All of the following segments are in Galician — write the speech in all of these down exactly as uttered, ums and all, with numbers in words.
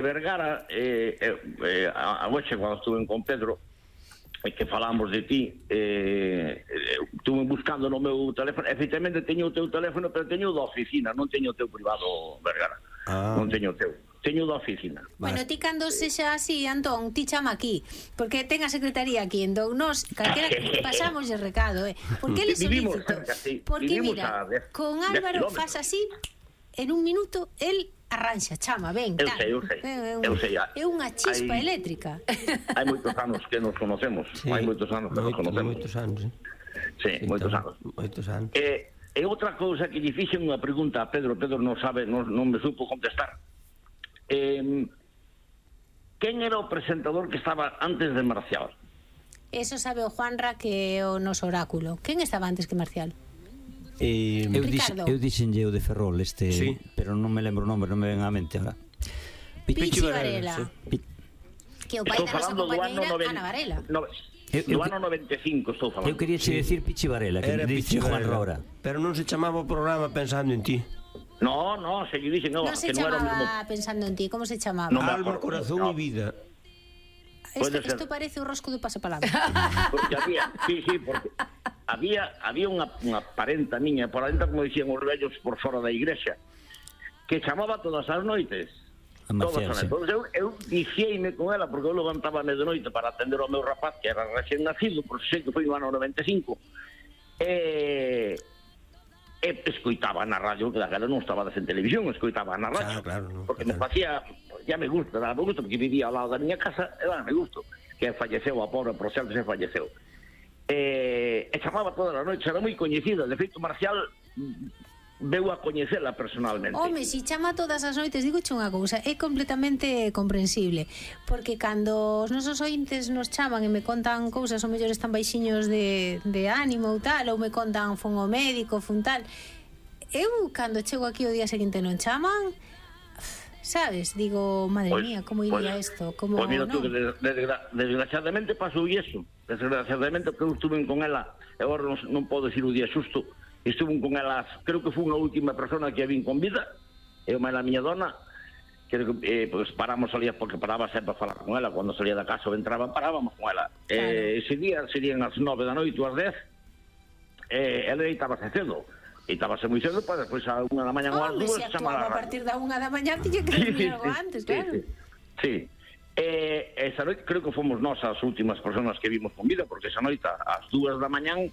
Vergara, eh, eh, a noche cando estuve con Pedro, e que falamos de ti, eh, estuve buscando no meu teléfono, efectivamente teño o teu teléfono, pero teño o da oficina, non teño o teu privado, Vergara. Ah. Non teño o teu. Teño da oficina. Bueno, ti cando sexa así, Antón, ti chama aquí, porque ten a secretaría aquí, entón nos, calquera que pasamos el recado, eh? Porque ele solícito. Sí. Porque mira, con Álvaro faz así, en un minuto, el arranxa, chama, ven, tal. Eu sei, eu sei. É, eu sei. É unha chispa hai, eléctrica. Hai moitos anos que nos conocemos. Sí, hai moitos anos que nos conocemos. Moitos anos, sí. Sí, sí moitos anos. Moitos anos. Eh, e outra cousa que lle fixen unha pregunta a Pedro, Pedro non sabe, non, non me supo contestar. Eh, quen era o presentador que estaba antes de Marcial? Eso sabe o Juanra, que é o noso oráculo. Quen estaba antes que Marcial? Eh, eu, dix, eu dixenlle o de Ferrol este, sí. Pero non me lembro o nome, non me ven á mente agora. Pichi Varela, sí. Pi... que o pai da nosa compañeira Ana Varela. No, no ano noventa e cinco estou falando. Eu quería che decir Pichi Varela, que dixe Juan Rora. Pero non se chamaba o programa Pensando en ti. No, no, se lle dixe no, non se que chamaba non era mismo... Pensando en ti, como se chamaba? No, Alma, corazón no. e vida. Isto, isto parece o rosco do pasapalabra. Porque había, sí, sí, porque había había unha, unha parenta miña, por dentro, como dicían os vellos por fora da igrexa, que chamaba todas as noites. Todas as noites. Entón, eu, eu viciei-me con ela, porque eu levantábame de noite para atender ao meu rapaz, que era recién nacido, por sei que foi no ano noventa e cinco, e... e escoitaba na radio, que daquela non estaba en televisión, escoitaba na radio, claro, claro, no, porque claro. me facía, ya me gusta, me gusta, porque vivía ao lado da miña casa, e dame gusto, que falleceu, a pobre, por certo, se falleceu. E, e chamaba todas as noites, era moi coñecida, de feito, Marcial veu a coñecela personalmente. Home, si chama todas as noites, digo che unha cousa, é completamente comprensible, porque cando os nosos ointes nos chaman e me contan cousas, ou mellor están baixiños de, de ánimo ou tal, ou me contan fun ao médico, fun tal, eu cando chego aquí o día seguinte non chaman, sabes, digo, madre pues, mía, como iría pues, isto? Como, pues mira no? tú, que desgra desgraciadamente pasou iso, desgraciadamente, porque eu estuve con ela, e agora non, non podo decir o día xusto, estuve con elas, creo que foi unha última persona que a vin con vida, eu máis a miña dona, que eh, pues paramos salía, porque paraba sempre a falar con ela, cando salía da casa ou entraba, parábamos con ela. Claro. Eh, ese día serían as nove da noite ou as dez, eh, ela deitábase cedo, deitábase moi cedo, para despois a unha da mañá ou as dúas, se actuaba a partir da unha da mañá, tiña que dormir sí, algo sí, antes, sí, claro. Sí, sí. Eh, esa noite creo que fomos nós as últimas personas que vimos con vida, porque esa noite ás dúas da mañán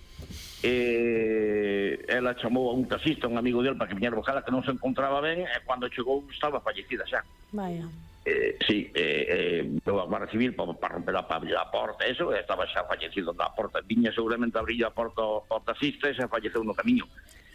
eh, ela chamou a un taxista, un amigo del, para que viñera buscala, que non se encontraba ben, e cando chegou estaba fallecida xa. Vaya. Eh, sí, eh, eh, a Guardia Civil para pa romper a, pa a porta, eso, estaba xa fallecido na porta, viña seguramente a abrir a porta ao taxista e xa falleceu no camiño.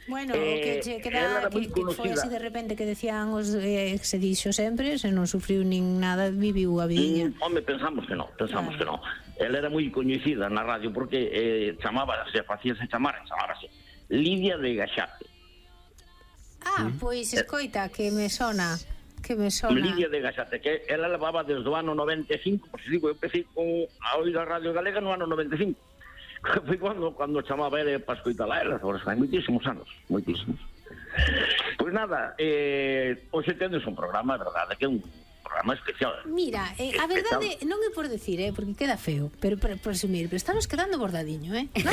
Bueno, eh, que che queda que, que foi así de repente que decían os eh, que se dixo sempre, se non sufriu nin nada, viviu a vidiña. Mm, home, pensamos que non, pensamos claro. que non. Ela era moi coñecida na radio porque eh, chamaba, se facíase chamar, chamábase Lidia de Gaxate. Ah, mm. pois escoita, que me sona, que me sona. Lidia de Gaxate, que ela levaba desde o ano noventa e cinco, por se digo, eu empecé con a oír a Radio Galega no ano noventa e cinco. Foi cando, cando chamaba ele para escoitar a ela, hai moitísimos anos, moitísimos. Pois nada, eh, hoxe tendes un programa, a verdade, que é un programa especial. Mira, eh, a verdade non é por decir, eh, porque queda feo, pero por presumir, pero estamos quedando bordadiño, eh? ¿No?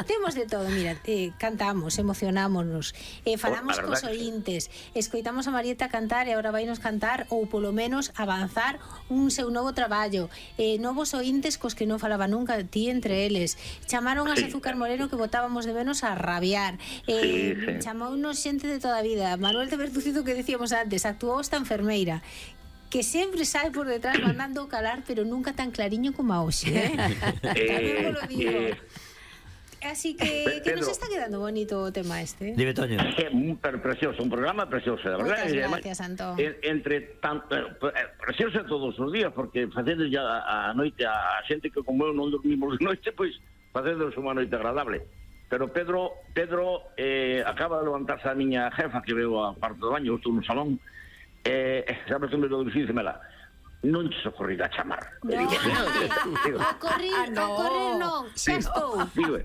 Temos de todo, mira, eh, cantamos, emocionámonos, eh, falamos oh, cos ointes, escoitamos a Marieta cantar e agora vai nos cantar, ou polo menos avanzar un seu novo traballo, eh, novos ointes cos que non falaba nunca, ti entre eles, chamaron a sí. Azúcar Moreno que botábamos de menos a rabiar, eh, sí, sí. chamounos xente de toda a vida, Manuel de Bertucido que decíamos antes, actuou esta enfermeira, que sempre sai por detrás mandando calar, pero nunca tan clariño como a hoxe, eh? Tamén vos lo digo. Eh, Así que, que nos está quedando bonito o tema este. Dime, Toño. É un precioso, un programa precioso, de verdad. Muchas gracias, Antón. Entre tanto, precioso todos os días, porque facedes ya a noite a xente que como eu non dormimos de noite, pois facedes unha noite agradable. Pero Pedro, Pedro eh, acaba de levantarse a miña jefa que veo a parte do baño, eu estou no salón. Eh, sabes que me lo dixi, mela, non se ocorrirá chamar. No, ocorrir, ah, no. ocorrir non, xa estou. Digo,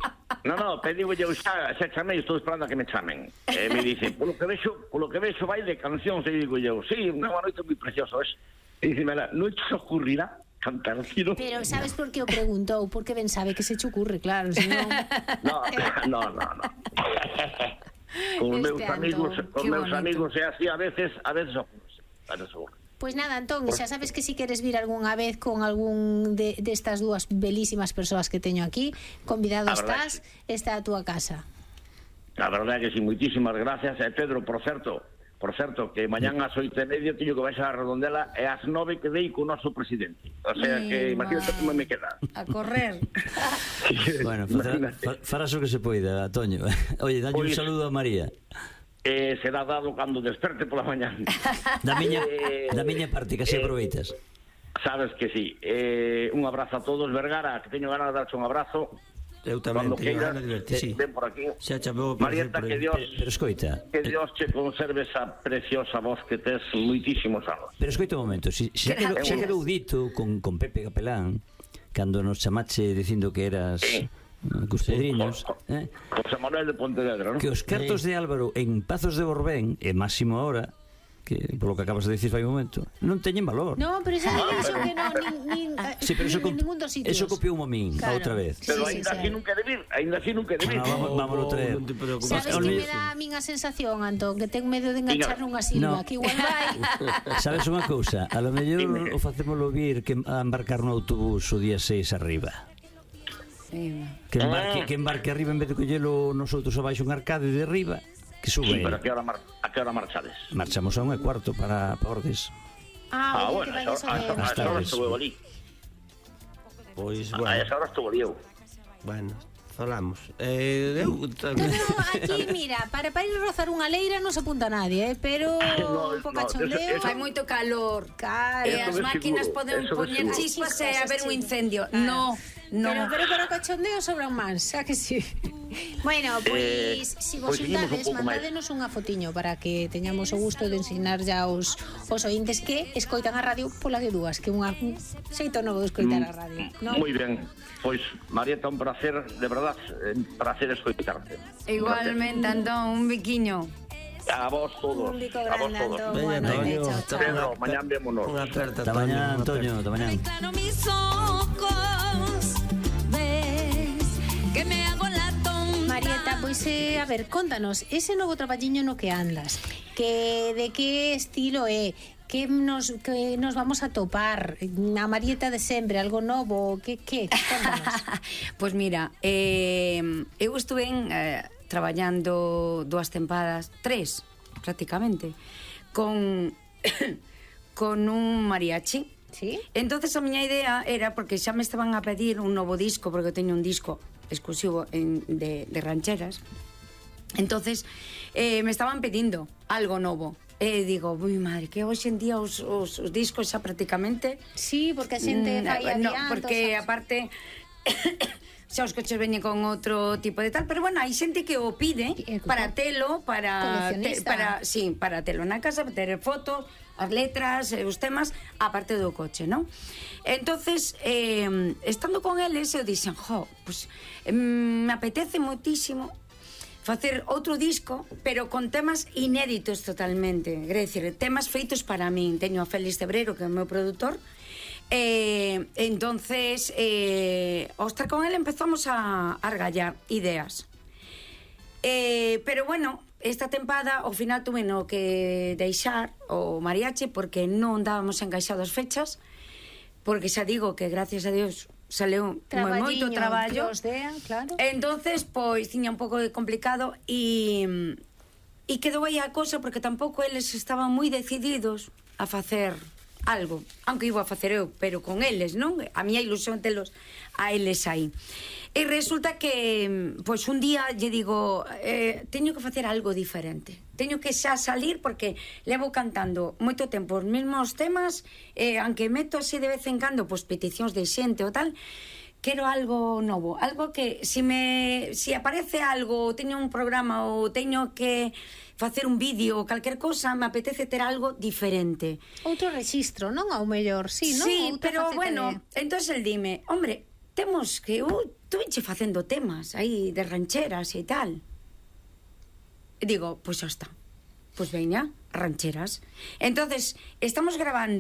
No, no, pedigo eu xa, xa chamei, estou esperando a que me chamen. E me dicen, polo que vexo, polo que vexo vai de cancións, e digo eu, sí, unha noite moi preciosa, ves? E dice, mira, non te ocurrirá cantar, tiro. Pero sabes por que o preguntou? Porque ben sabe que se che ocurre, claro, senón... No, no, no, no. Con os meus amigos, con meus amigos é así a veces, a veces ocurre, a veces ocurre. Pois pues nada, Antón, xa sabes que si queres vir algunha vez con algún de destas dúas belísimas persoas que teño aquí, convidado estás, está a túa casa. A verdade é que si, moitísimas gracias. E Pedro, por certo, por certo, que mañán ás oito e media teño que baixar a Redondela e ás nove quedei co noso presidente. O sea que, imagínate como me queda. A correr. Bueno, farás o que se poida, Toño. Oye, dalle un saludo a María. Eh, será dado cando desperte pola mañán. Da miña, eh, da miña parte, que se eh, aproveitas. Sabes que sí. Eh, un abrazo a todos, Vergara, que teño ganas de darche un abrazo. Eu tamén teño ganas de verte, sí. Ven por aquí. Xa chamou Marieta, que Dios, pero, pero escoita, que Dios che conserve esa preciosa voz que tes moitísimos anos. Pero escoita un momento, si, xa, quedou, xa quedou dito con, con Pepe Capelán, cando nos chamache dicindo que eras... Sí. Cos pedriños, eh? José Manuel de Pontevedra, ¿no? Que os cartos de Álvaro en Pazos de Borbén, e máximo ahora, que polo que acabas de dicir fai un momento, non teñen valor. No, pero xa ah, dixo que non, nin, nin, sí, pero eso, nin ningún dos sitios. Eso copiou a min, claro. Outra vez. Pero sí, ainda sí, así sí. nunca de vir, ainda así nunca de vir. No, vamos, vámonos traer. No sabes que me dá a min a sensación, Antón, que ten medo de enganchar nunha silva, no. Que igual vai. Sabes unha cousa, a lo mellor o facémolo vir que a embarcar no autobús o día seis arriba. Sí. Que embarque, que embarque arriba en vez de collelo nosotros abaixo un arcade de arriba, que sube. Sí, pero a que hora, mar a que hora marchades? Marchamos a un e cuarto para, para Ordes. Ah, ah bueno, a esa hora estuve ali. Pois, bueno. A esa hora estuve ali eu. Bueno, falamos. Eh, eu... No, no, aquí, mira, para, para ir a rozar unha leira non se apunta nadie, eh, pero no, un pouco cachondeo. Fai moito calor. Claro. E as máquinas poden poñer chispas e haber un incendio. No. No. Pero, pero para o cachondeo sobran máis, xa que sí. Bueno, pois, eh, si vos xuntades, pues mandádenos unha fotiño para que teñamos o gusto de ensinar ya os, os ointes que escoitan a radio pola de dúas, que unha un xeito novo de escoitar a radio, ¿no? Moi ben, pois, Marieta, un placer, de verdad, un placer escoitarte. Igualmente, Antón, un biquiño. A vos todos. Un bico grande, a vos todos. Antón. Bueno, Antonio, chao, chao. Pedro, mañán vémonos. Unha aperta, Ata mañá, Antonio, ata mañá. Claro, mis ojos, ves que me hago la tonta. Marieta, pois, eh, a ver, contanos, ese novo traballiño no que andas, que de que estilo é, que nos, que nos vamos a topar, a Marieta de sempre, algo novo, que, que, contanos. Pois pues mira, eh, eu estuve en, eh, traballando dúas tempadas, tres, prácticamente, con, con un mariachi. ¿Sí? Entonces a miña idea era, porque xa me estaban a pedir un novo disco, porque eu teño un disco exclusivo en, de, de rancheras, entonces eh, me estaban pedindo algo novo. E digo, ui madre, que hoxe en día os, os, os discos xa prácticamente... Sí, porque a xente fai adiantos. No, porque aparte... xa os coches veñen con outro tipo de tal, pero bueno, hai xente que o pide para telo, para te, para, sí, para telo na casa, para ter fotos, as letras, os temas, aparte do coche, ¿no? Entonces, eh, estando con eles, eu dixen, jo, pues, eh, me apetece moitísimo facer outro disco, pero con temas inéditos totalmente, é dicir, temas feitos para min. Teño a Félix Cebrero, que é o meu produtor. Eh, entonces, eh, ao estar con él empezamos a, a argallar ideas. Eh, pero bueno, esta tempada ao final tuve no que deixar o mariachi porque non dábamos encaixados fechas, porque xa digo que gracias a Dios saleu moi moito traballo. Dean, claro. Entonces, pois tiña un pouco de complicado e e quedou aí a cosa porque tampouco eles estaban moi decididos a facer algo, aunque iba a facer eu, pero con eles, non? A miña ilusión telos a eles aí. E resulta que, pois un día lle digo, eh, teño que facer algo diferente. Teño que xa salir porque levo cantando moito tempo os mesmos temas, eh, aunque meto así de vez en cando, pois peticións de xente ou tal, quero algo novo, algo que si me si aparece algo, teño un programa ou teño que facer un vídeo ou calquer cosa, me apetece ter algo diferente. Outro rexistro, non? Ao mellor, sí, non? Sí, Outra pero bueno, de... entonces el dime, hombre, temos que eu estuvenche facendo temas aí de rancheras e tal. E digo, pois xa está. Pois veña, rancheras. Entonces, estamos grabando